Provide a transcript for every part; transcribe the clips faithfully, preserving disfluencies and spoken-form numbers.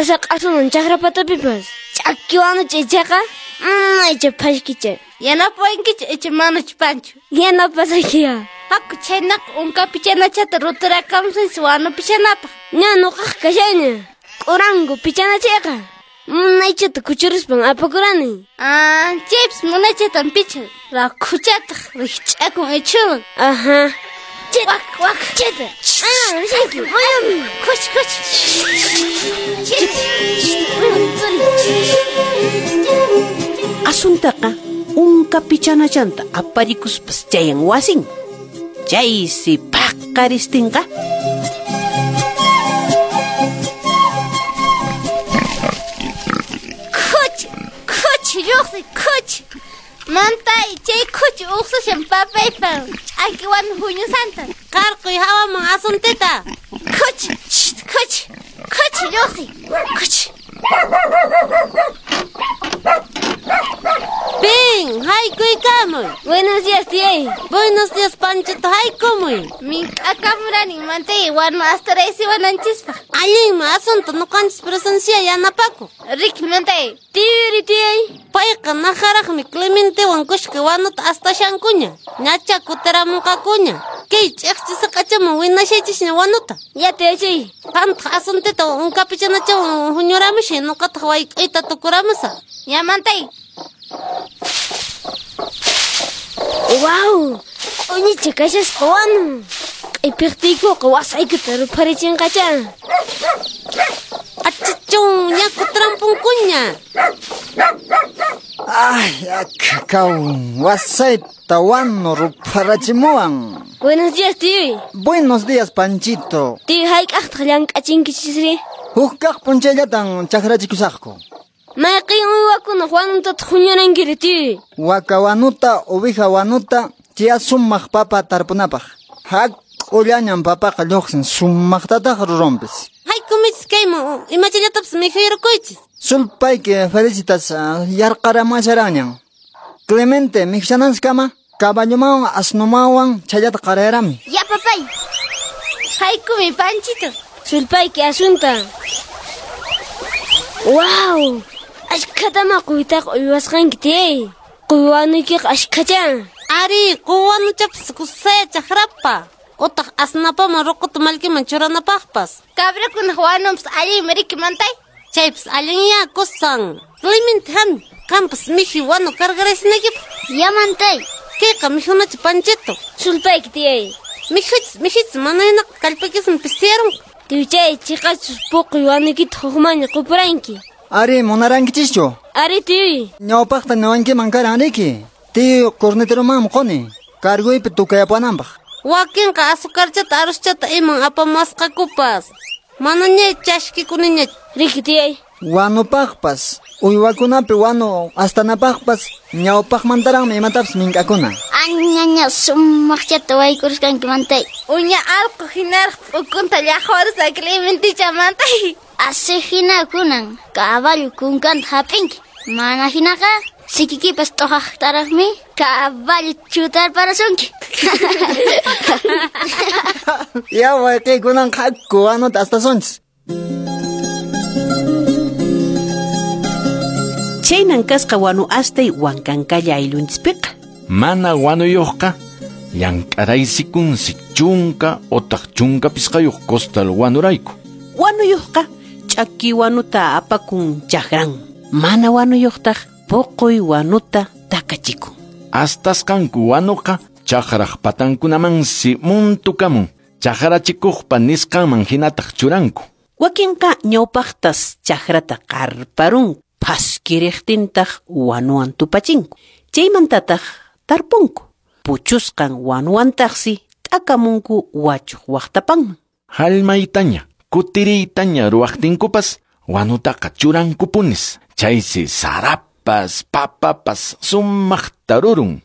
Sasaq'asunan chakra patapipas. Ch'aki wanucha ichaqa munaycha phashkicha. Yanapawankichu icha manachu Pancho? Yanapasaykiya. Haku chhaynaqa unka pichanachata ruturakamusunchis wanu pichanapaq. Ña nuqaqa kashaña. K'uranku pichanachayqa. Munaychata kuchuruspan apakurani. Ah, chaypis munaychatan pichan. Rakhuchataq rikch'akun ichhuman. Ajá. Wak, wak. Cheta. Ah, risayki. Mayami. Khuch, khuch. Asuntaqa unka pichanachanta aparikuspas chayan wasin. Chaysi paqaristinqa. Khuch, khuch, lluqsi, khuch. Mantay, chay khuch uqsashan papaypa. Ch'aki wanu huñusanta. Qarquy hawaman asuntita. Khuch, khuch, khuch, lluqsi, khuch. Pin, haykuykamuy. Buenos días, tiyay. Buenos días, Panchito, haykumuy. Mink'akamurani mantay wanu astaraysiwananchispaq. Allinmi asunto nuqanchis presencia yanapaku. Riki mantay. Tiyuri, tiyay. Payqa najaraqmi Clementewan kushka wanuta astashankuña. Ñacha kutiramunqakuña. Kay ch'iqchisaqachaman winashaychisña wanuta. Ya tiyachay. Qamtaq asuntita unkapichanachawan huñuramushay nuqataq wayk'ayta tukuramusaq. Ya mantay. Wow, q'uñicha kashasqa wanu. Q'ipiqtiykuqa wasaykuta rupharichinqacha. Achichun, ña kutirampunkuña. Ay, akakaw, wasayta wanu rupharachimuwan. Buenos días, tío. Buenos días, Panchito. Tío, hayk'aqtaq llank'achinkichisri? Huk kaq p'unchayllatan chakrachikusaqku. Mayqin uywakunaq wanutataq huñurankiri, tío? Waka wanuta, oveja wanuta, chiya sumaq papa tarpunapaq. Hak'ullañan papaqa lluqsin, sumaqtataq rurunpis. Haykumichis kayman, imachallatapis mikhuyurquychis. Sulpayki Felicitas yarqaramuwasharanñan. Clemente, mikhushananchiskama, caballomawan asnumawan chayllata qarayarami. Ya, papay. Haykumi, Panchito. Sulpayki asunta. Wow! Ashkhatama quytaqa uywasqanki, tiyay. Quywanuykiqa ashkhacha. Ari, quwanuchapas kusaya chakrapa. Utaq asnapaman ruquta mallkiman churanapaqpas. Cabrakunaq wanunpas allinmi riki mantay. Chaypas allinya kusan. Clemente hami, qampas mikhuy wanu cargaraysinakipaq. Ya mantay. Kayqa mikhunacha Panchito. Sulpayki, tiyay. Mikhuchis, mikhuchis, manaynaqa kallpaykismi pisiyarunqa. Tiyuchay, chiqachus puquy wanuykita hukmanña qupuranki. Ari, munarankichischu? Ari, tiyuy. Ñawpaqta niwankiman karan riki. Tiyu corneteromanmi quni. Carguypi tukayapuwananpaq. Wakinqa azucarchata arroschata iman apamuwasqakupas. Manaña chashkikuniña. Riki, tiyay. Wanupaqpas, uywakunapi wanu astanapaqpas ñawpaqmantaraqmi imatapis mink'akuna. Añaña sumaqchata waykurusqanki mantay. Uña allqu hinaraq p'ukunta llaqwarusqa Clementicha mantay. Asi hina kunan caballo kunkanta hap'inki. Mana hinaqa sikikipas t'uqaqtaraqmi caballo chutarparasunki. Ya wayqi kunan haku wanuta astasunchis. Chaynan kasqa wanu astay Wankankalla ayllunchispiqa. Mana wanuyuqqa llank'araysikunsi chunka otaq chunka pisqayuq costal wanurayku. Wanuyuqqa ch'aki wanuta apakun chakran. Mana wanuyuqtaq puquy wanuta takachikun. Astasqanku wanuqa chakraq patankunamansi muntukamun. Chakrachikuqpa nisqanman hinataq churanku. Wakinqa ñawpaqtas chakrata qarparun. Phaskiriqtintaq wanuwan tupachinku. Chaymantataq tarpunku. Puchusqan wanuwantaqsi t'akamunku wachuq waqtapanman. Hallmaytaña, kutiriytaña ruwaqtinkupas wanutaqa churankupunis. Chaysi sarapas, papapas sumaqta rurun.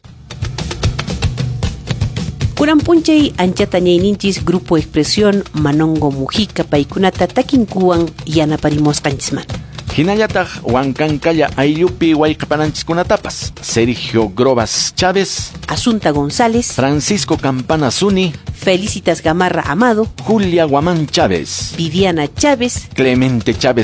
Kunan p'unchay anchata ñayninchis Grupo Expresión Manongo Mujica paykunata takinkuwan yanaparimusqanchismanta. Hinallataq Wankankalla ayllupi wayqapananchiskunatapas Sergio Grobas Chávez, Asunta González, Francisco Campana Zuni, Felicitas Gamarra Amado, Julia Guamán Chávez, Viviana Chávez, Clemente Chávez